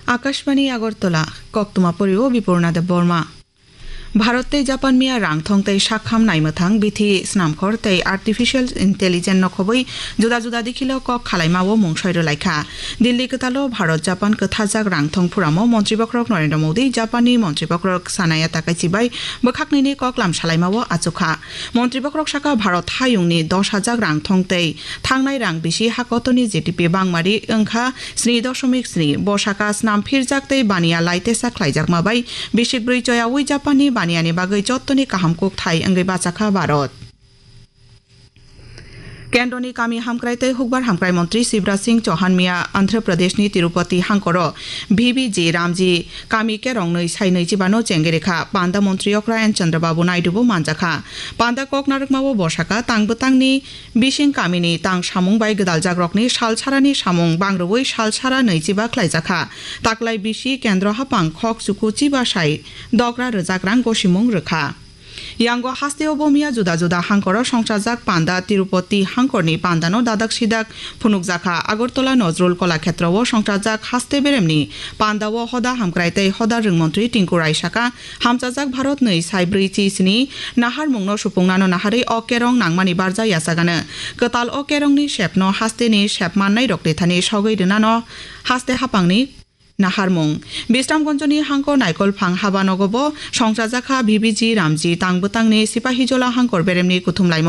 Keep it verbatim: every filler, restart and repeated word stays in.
Akashbani Agartala, koktwma porio Bipurna Debbarma. Bharat tei Japan miya rangthong tei sakham naimwthang bithi snamkhor tei artificial intelligence no khobwi juda juda dikhilo kok khalaimao mungsoi rwlaikha. Delhi kwtalo Bharat Japan kwthajak rangthong phuramo Montri Bokhorok Narendra Modi, Japanni Montri Bokhorok Sanaya Takaichi bai bwkhaknwini koklam salaimao achukha. Montri Bokhorok saka Bharat hayungni dos hajak rangthong tei thangnai rang bisi hakotoni G D P bangmari wngkha sni dosomik sni. Bo saka snam phirjak tei baniya laitesa khlaijakma bai bisik brwi choyaui Japanni baniyani bagwi jottoni kaham kukthai wngwi bachakha Bharat. Kendroni kami hamkrai tei hukbar hamkrai montri Shivraj Singh Chauhan miya Andhra Pradeshni Tirupati hangkoro V B G Ramji kami kerong nwi sai nwi chibano chengwi rikha. Panda montri okra N Chandrababu Naidu bo manjakha. Panda kok narwkmao bo saka tang bwtangni bising kamini tang samung bai gwdaljakrokni salsarani samung bangrwui salsara nwi chiba khlaijakha. Taklai bisi kendro hapang khok chuku chiba sai dogra rwjak rang gosimung rwkha. Yango hasteo bo miya juda juda hangkoro songchajak panda Tirupati hangkorni pandano dadak sidak phunukjakha. Agartala Nojrul Kolakhetrao songchajak haste beremni pandao hoda hamkrai tei hoda rwngmontri Tinku Rai saka, hamchajak Bharatni sai brwi chi sini naharmungno supungnano naharwi o kerong nangmani barja yachagano. Kwtal o kerongni sepno hasteni sep mannairokni thani sogwi rwnano haste hapangni naharmung. Bisramganjni hangkor Naikolphang habanogo bo songchajakha V B G Ramji tang bwtangni Sipahijola hangkor beremni kuthumlaimung.